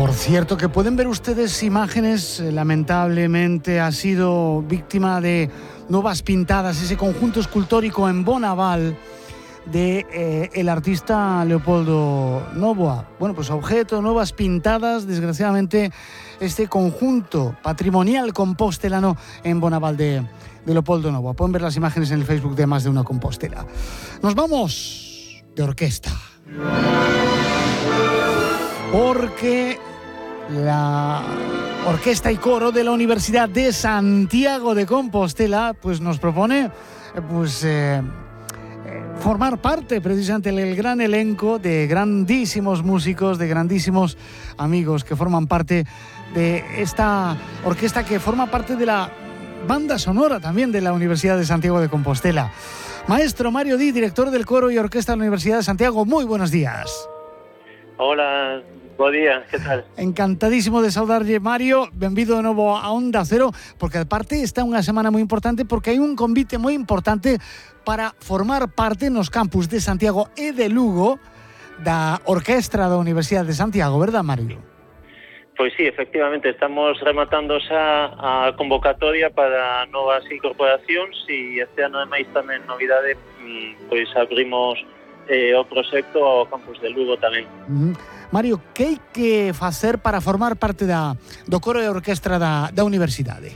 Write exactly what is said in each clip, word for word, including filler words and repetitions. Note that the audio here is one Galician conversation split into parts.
Por cierto, que pueden ver ustedes imágenes, eh, lamentablemente ha sido víctima de nuevas pintadas, ese conjunto escultórico en Bonaval de eh, el artista Leopoldo Nóvoa. Bueno, pues objeto, nuevas pintadas, desgraciadamente, este conjunto patrimonial compostelano en Bonaval de, de Leopoldo Nóvoa. Pueden ver las imágenes en el Facebook de Más de Una Compostela. Nos vamos de orquesta. Porque la Orquesta y Coro de la Universidad de Santiago de Compostela pues nos propone pues eh, formar parte precisamente del gran elenco de grandísimos músicos, de grandísimos amigos que forman parte de esta orquesta, que forma parte de la banda sonora también de la Universidad de Santiago de Compostela. Maestro Mario Di, director del Coro y Orquesta de la Universidad de Santiago, muy buenos días. Hola, bo día, que tal? Encantadísimo de saudarlle, Mario. Benvido de novo a Onda Cero, porque aparte está unha semana moi importante, porque hai un convite moi importante para formar parte nos campus de Santiago e de Lugo da Orquestra da Universidade de Santiago, verdad, Mario? Pois sí, efectivamente, estamos rematando xa a convocatoria para novas incorporacións e este ano máis tamén novidade, pois abrimos eh, o proxecto ao campus de Lugo tamén. Uh-huh. Mario, que hai que facer para formar parte da, do coro e orquestra da, da universidade?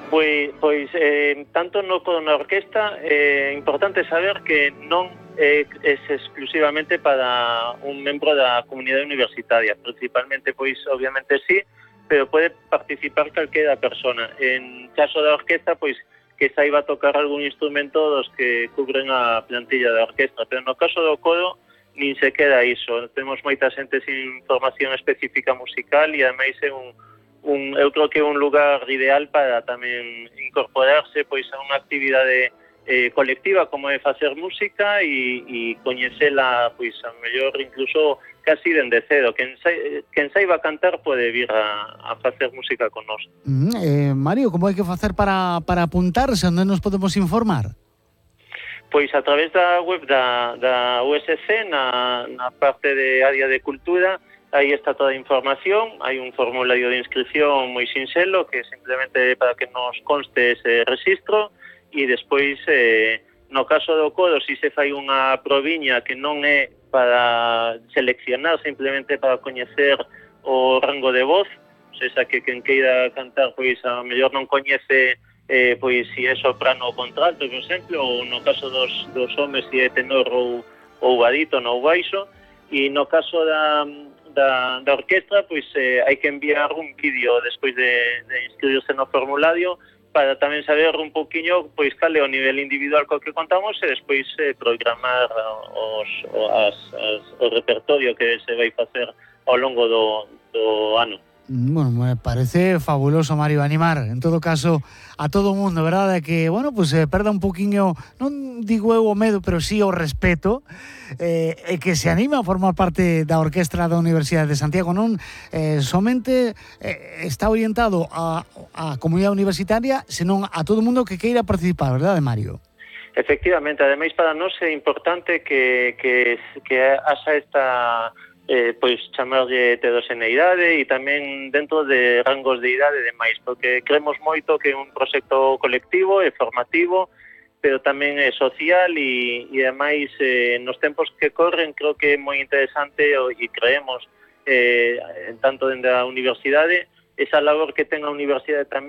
Pois, pois eh, tanto no coro na orquesta é eh, importante saber que non é, é exclusivamente para un membro da comunidade universitaria, principalmente, pois obviamente sí, pero pode participar calquera persona. En caso da orquesta, pois que saiba tocar algún instrumento dos que cubren a plantilla da orquestra, pero no caso do coro nin se queda iso. Temos moita xente sin formación específica musical e ademais é un, un eu creo que é un lugar ideal para tamén incorporarse pois a unha actividade eh, colectiva como é facer música e, e coñecela pois a mellor incluso casi dende cedo. Quen, sa, quen saiba cantar pode vir a, a facer música con nós. Mm, eh, Mario, como hai que facer para, para apuntarse? Onde nos podemos informar? Pois a través da web da, da U S C, na, na parte de área de cultura, aí está toda a información, hai un formulario de inscripción moi sinxelo, que simplemente para que nos conste ese registro, e despois, eh, no caso do coro, si se fai unha proviña que non é para seleccionar, simplemente para coñecer o rango de voz, ou seja, que quen queira cantar, pois a mellor non coñece eh, pois si é soprano ou contralto, por exemplo, ou no caso dos, dos homes si é tenor ou, ou barítono ou baixo, e no caso da, da, da orquestra, pois eh, hai que enviar un vídeo despois de, de inscribirse no formulario para tamén saber un poquinho pois cal é o nivel individual co que contamos e despois eh, programar os, as, as, o repertorio que se vai facer ao longo do, do ano. Bueno, me parece fabuloso, Mario, animar, en todo caso, a todo o mundo, verdad, de que, bueno, pues se eh, perda un poquinho, non digo eu o medo, pero sí o respeto, eh, e que se anima a formar parte da orquestra da Universidade de Santiago. Non eh, somente eh, está orientado a, a comunidade universitaria, senón a todo o mundo que queira participar, verdad, Mario? Efectivamente, ademais para nós é importante que, que, que haxa esta... Eh, pois chamarlle heteroxeneidade e tamén dentro de rangos de idade e demais, porque creemos moito que é un proxecto colectivo e formativo, pero tamén é social e, e ademais eh, nos tempos que corren creo que é moi interesante e creemos eh, tanto dende a universidade esa labor que ten a universidade tamén